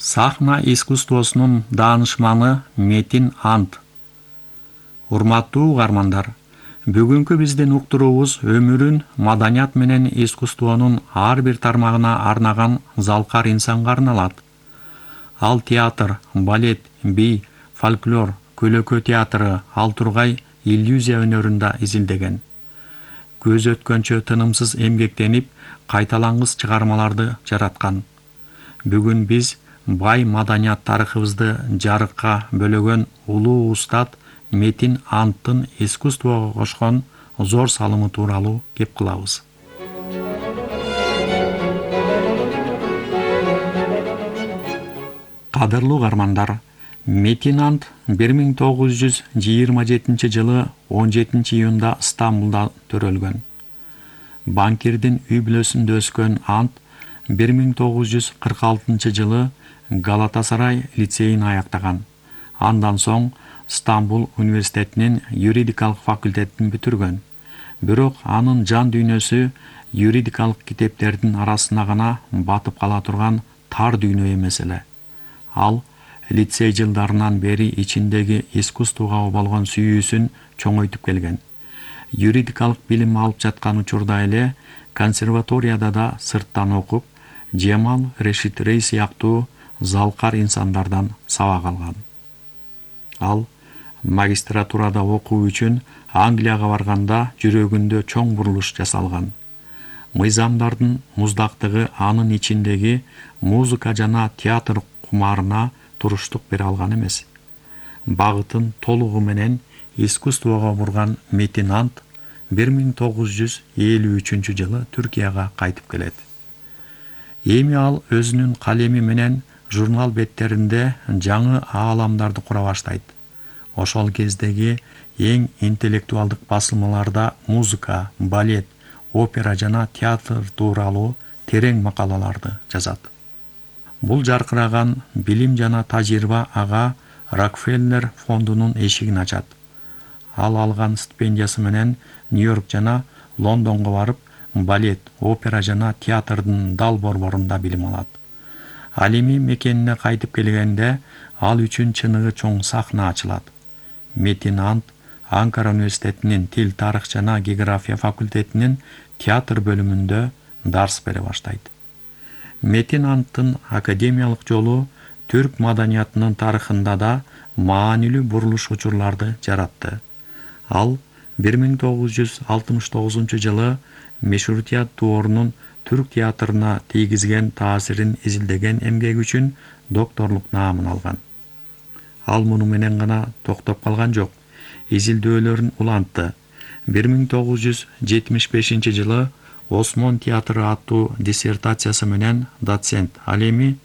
Сахна искусствосунун даанышманы Метин Ант. Урматтуу угармандар, бүгүнкү биздин уктуруубуз өмүрүн маданият менен искусствонун ар бир тармагына арнаган залкар инсанга арналат. Ал театр, балет, би, фольклор, көлөкө театры, ал тургай иллюзия өнөрүндө изилдеген. Көз өткөнчө тынымсыз эмгектенип, кайталангыс чыгармаларды жараткан. Бүгүн биз бай маданият тарыхыбызды жарыкка бөлөгөн улуу устат Метин Анттын искусствого кошкон зор салымы тууралуу кеп кылабыз. Кадырлуу угармандар, Метин Ант 1927 жылы 17 июнда Стамбулда төрөлгөн. Банкирдин үй бүлөсүндө өскөн Ант 1946 жылы Галатасарай лицейин аяктаган. Андан соң Стамбул университетинин юридикалык факультетин бүтүргөн. Бирок анын жан дүйнөсү юридикалык китептердин арасына гана батып кала турган тар дүйнө эмес эле. Ал лицей жылдарынан бери ичиндеги искусствого болгон сүйүүсүн чоңойтуп келген. Юридикалык билим алып жаткан учурда эле консерваторияда да сырттан окуп, Жемал Решит Рей сыяктуу залкар инсандардан сабак алган. Ал магистратурада окуу үчүн Англияга барганда жүрөгүндө чоң бурулуш жасалган. Мыйзамдардын муздактыгы анын ичиндеги музыка жана театр кумарына туруштук бере алган эмес. Багытын толугу менен искусствого бурган Метин Ант 1953 жылы Түркияга кайтып келет. Эми ал өзүнүн калеми менен журнал беттеринде жаңы ааламдарды кура баштайт. Ошол кездеги эң интеллектуалдык басылмаларда музыка, балет, опера жана театр тууралуу терең макалаларды жазат. Бул жаркыраган билим жана тажрыйба ага Рокфеллер фондунун эшигин ачат. Ал алган стипендиясы менен Нью-Йорк жана Лондонго барып, балет, опера жана театрдын дал борборунда билим алат. Ал эми мекенине кайтып келгенде ал үчүн чыныгы чоң сахна ачылат. Метин Ант Анкара университетинин тил, тарых жана география факультетинин театр бөлүмүндө дарс бере баштайт. Метин Анттын академиялык жолу түрк маданиятынын тарыхында да маанилүү бурулуш учурларды жаратты. Ал 1969 жылы Мешуртият Дуорунун түрк театрына тийгизген таасирин изилдеген эмгеги үчүн докторлук наамын алган. Ал муну менен гана токтоп калган жок. Изилдөөлөрүн улантты. 1975 жылы Осмон театры аттуу диссертациясы менен доцент. Ал эми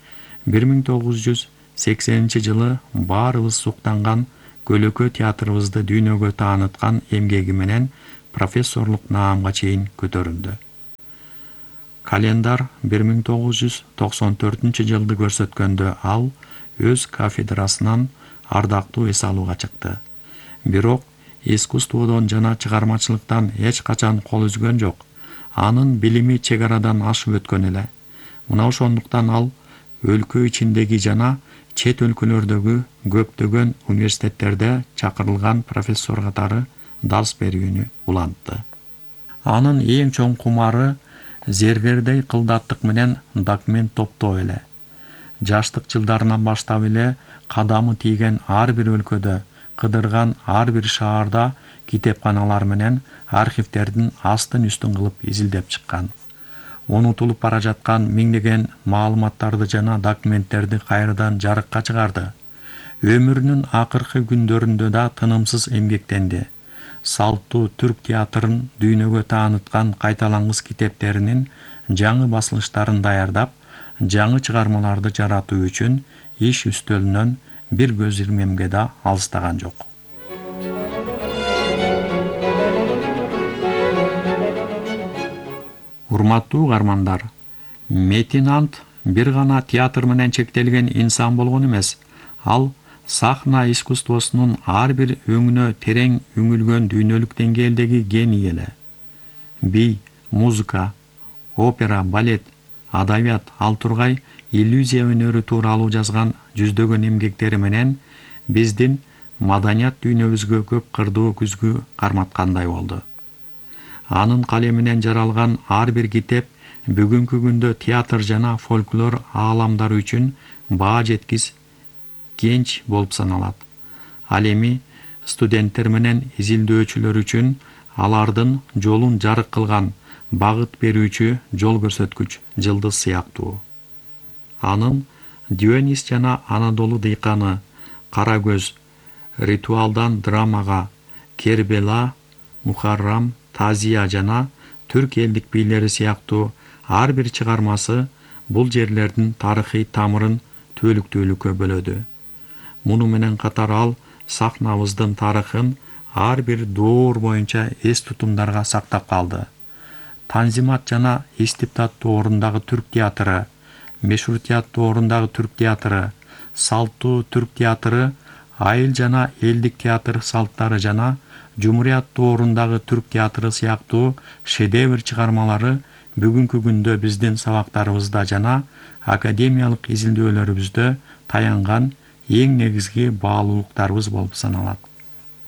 1980 жылы баарыбыз суктанган көлөкө театрыбызды дүйнөгө тааныткан эмгеги менен профессорлук наамга чейин көтөрүлдү. Календар 1994 жылды көрсөткөндө ал өз кафедрасынан ардактуу эс алууга чыкты. Бирок искусстводон жана чыгармачылыктан эч качан кол үзгөн жок. Анын билими чек арадан ашып өткөн эле. Мына ошондуктан ал өлкө ичиндеги жана чет өлкөлөрдөгү көптөгөн университеттерде чакырылган профессор катары дарс берүүнү улантты. Анын эң чоң кумары зергердей кылдаттык менен документ топтоо эле. Жаштык жылдарынан баштап эле кадамы тийген ар бир өлкөдө, кыдырган ар бир шаарда китепканалар менен архивтердин астын үстүн кылып изилдеп чыккан. Унутулуп бара жаткан миңдеген маалыматтарды жана документтерди кайрадан жарыкка чыгарды. Өмүрүнүн акыркы күндөрүндө да тынымсыз эмгектенди. Салттуу түрк театрын дүйнөгө тааныткан кайталангыс китептеринин жаңы басылыштарын даярдап, жаңы чыгармаларды жаратуу үчүн иш үстөлүнөн бир көз ирмемге да алыстаган жок. Урматтуу угармандар, Метин Ант бир гана театр менен чектелген инсан болгон эмес. Ал сахна искусствосунун ар бир өңүнө терең үңүлгөн дүйнөлүк деңгээлдеги гений эле. Би, музыка, опера, балет, адабият, ал тургай иллюзия өнөрү тууралуу жазган жүздөгөн эмгектери менен биздин маданият дүйнөбүзгө көп кырдуу күзгү карматкандай болду. Анын калеминен жаралган ар бир китеп бүгүнкү күндө театр жана фольклор ааламдары үчүн баа жеткис кенч болуп саналат. Ал эми студенттер менен изилдөөчүлөр үчүн алардын жолун жарык кылган багыт берүүчү жол көрсөткүч жылдыз сыяктуу. Анын Дионис жана Анадолу дыйканы, Кара көз, Ритуалдан драмага, Кербела, Мухаррам, Тазия жана түрк элдик бийлери сыяктуу ар бир чыгармасы бул жерлердин тарыхый тамырын түбөлүктүүлүккө бөлөдү. Муну менен катар ал сахнабыздын тарыхын ар бир доор боюнча эс тутумдарга сактап калды. Танзимат жана Истибдат доорундагы түрк театры, Мешрутият доорундагы түрк театры, Салттуу түрк театры, Айыл жана элдик театр салттары жана Жумурият доорундагы түрк театры сыяктуу шедевр чыгармалары бүгүнкү күндө биздин сабактарыбызда жана академиялык изилдөөлөрүбүздө таянган эң негизги баалуулуктарыбыз болуп саналат.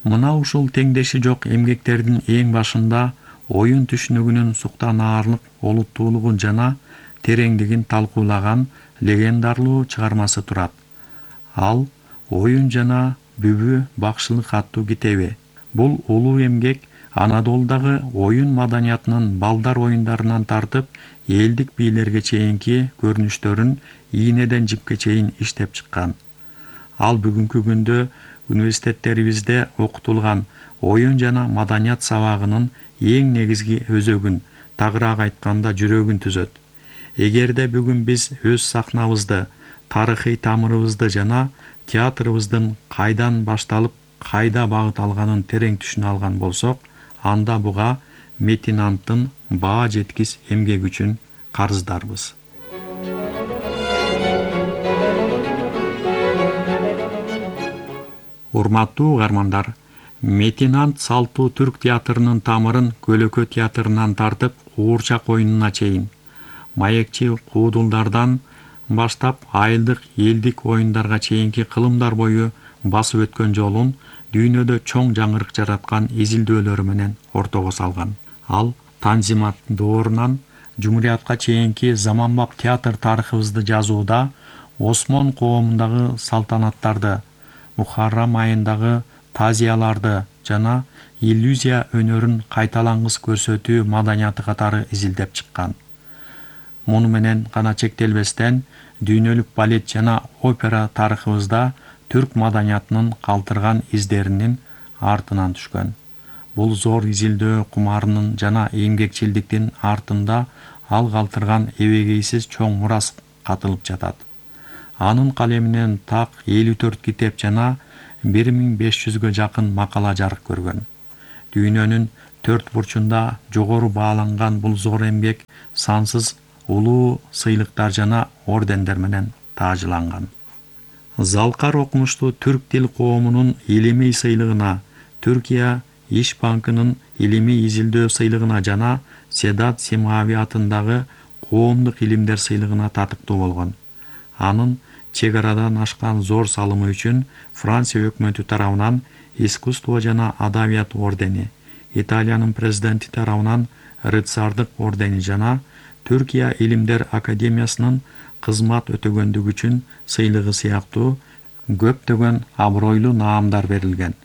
Мына ушул теңдеши жок эмгектердин эң башында оюн түшүнүгүнүн суктанаарлык олуттуулугун жана тереңдигин талкуулаган легендарлуу чыгармасы турат. Ал Оюн жана Бүбү бакшылык аттуу китеби. Бул улуу эмгек Анадолудагы оюн маданиятынын балдар оюндарынан тартып элдик бийлерге чейинки көрүнүштөрүн ийнеден жипке чейин иштеп чыккан. Ал бүгүнкү күндө университеттерибизде окутулган оюн жана маданият сабагынын эң негизги өзөгүн, тагыраак айтканда жүрөгүн түзөт. Эгерде бүгүн биз өз сахнабызды, тарыхый тамырыбызды жана театрыбыздын кайдан башталып, кайда багыт алганын терең түшүнө алган болсок, анда буга Метинанттын баа жеткис эмгеги үчүн карыздарбыз. Урматтуу угармандар, Метинант салттуу түрк театрынын тамырын Көлөкө театрынан тартып Куурчак оюнуна чейин, маекчи куудулдардан баштап айылдык элдик оюндарга чейинки кылымдар бою басып өткөн жолун дүйнөдө чоң жаңырык жараткан изилдөөлөрү менен ортого салган. Ал Танзимат доорунан Жумуриятка чейинки заманбап театр тарыхыбызды жазууда Осмон коомундагы салтанаттарды, Мухаррам айындагы тазияларды жана иллюзия өнөрүн кайталангыс көрсөтүү маданияты катары изилдеп чыккан. Муну менен гана чектелбестен дүйнөлүк балет жана опера тарыхыбызда түрк маданиятынын калтырган издеринин артынан түшкөн. Бул зор изилдөө кумарынын жана эмгекчилдиктин артында ал калтырган эбегейсиз чоң мурас катылып жатат. Анын калеминен так 54 китеп жана 1500гө жакын макала жарык көргөн. Дүйнөнүн төрт бурчунда жогору бааланган бул зор эмгек сансыз улуу сыйлыктар жана ордендер менен таажланган. Залкар окумуштуу түрк тил коомунун илимий сыйлыгына, Түркия Иш банкынын илимий изилдөө сыйлыгына жана Седат Симави атындагы коомдук илимдер сыйлыгына татыктуу болгон. Анын чек арадан ашкан зор салымы үчүн Франция өкмөтү тарабынан искусство жана адабият ордени, Италиянын президенти тарабынан рыцардык ордени жана Түркия Илимдер Академиясынын кызмат өтөгөндүгү үчүн сыйлыгы сыяктуу көптөгөн абройлуу наамдар берилген.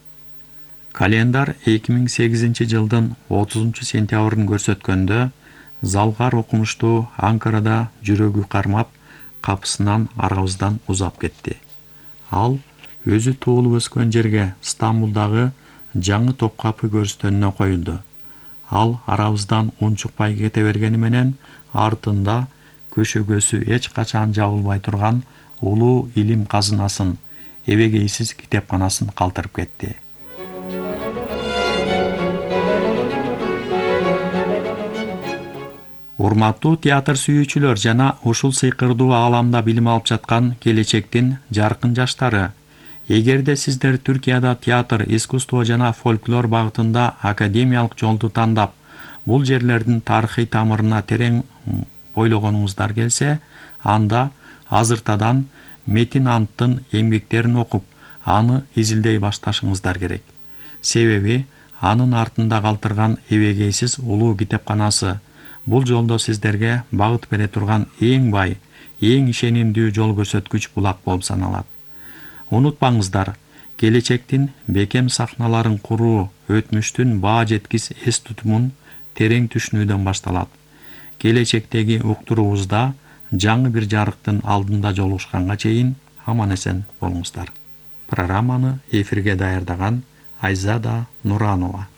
Календар 2008 жылдын 30 сентябрын көрсөткөндө Залкар окумуштуу Анкарада жүрөгү кармап, капысынан арабыздан узап кетти. Ал өзү туулуп өскөн жерге Стамбулдагы жаңы Топкапы көрүстөнүнө коюлду. Ал арабыздан унчукпай кете бергени менен артында көшөгөсү эч качан жабылбай турган улуу илим казынасын, эбегейсиз китепканасын калтырып кетти. Урматтуу театр сүйүүчүлөр жана ушул сыйкырдуу ааламда билим алып жаткан келечектин жаркын жаштары, эгерде сиздер Түркияда театр, искусство жана фольклор багытында академиялык жолду тандап, бул жерлердин тарыхый тамырына терең ойлогонуңуздар келсе, анда азыртадан Метин Анттын эмгектерин окуп, аны изилдей башташыңыздар керек. Себеби анын артында калтырган эбегейсиз улуу китепканасы бул жолдо сиздерге багыт бере турган эң бай, эң ишенимдүү жол көрсөткүч булак болуп саналат. Унутпаңыздар, келечектин бекем сахналарын куруу өтмүштүн баа жеткис эс тутумун терең түшүнүүдөн башталат. Келечектеги уктуруубузда жаңы бир жарыктын алдында жолугушканга чейин аман-эсен болуңуздар. Программаны эфирге даярдаган Айзада Нуранова.